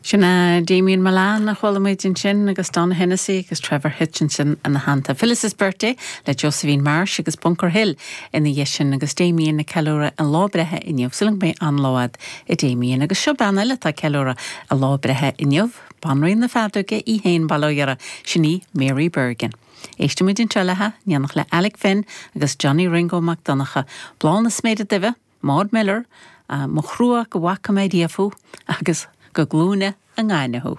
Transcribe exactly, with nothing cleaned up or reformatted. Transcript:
Sin é Damien Malan a chuala muid ansin agus Don Hennessy agus Trevor Hitchinson ina theannta. Phyllis's Birthday le Josephine Marsh agus Bunker Hill ina dhiaidh sin agus Damien ag ceiliúradh a lá breithe inniu súil agam go mbeidh an-lá agat a Damien agus seo bean eile atá ag ceiliúradh a lá breithe inniu, Banríon na Feadóige í féin bail ó Dhia uirthi, sin í Mary Bergin. Éistfimid anseo léi in éineacht le Alec Finn agus Johnny Ringo Mac Donncha, Bláth na Sméide Duibhe, Maud Miller, mo thrua go bhfaca mé riamh thú agus go glúine i ngainne thú.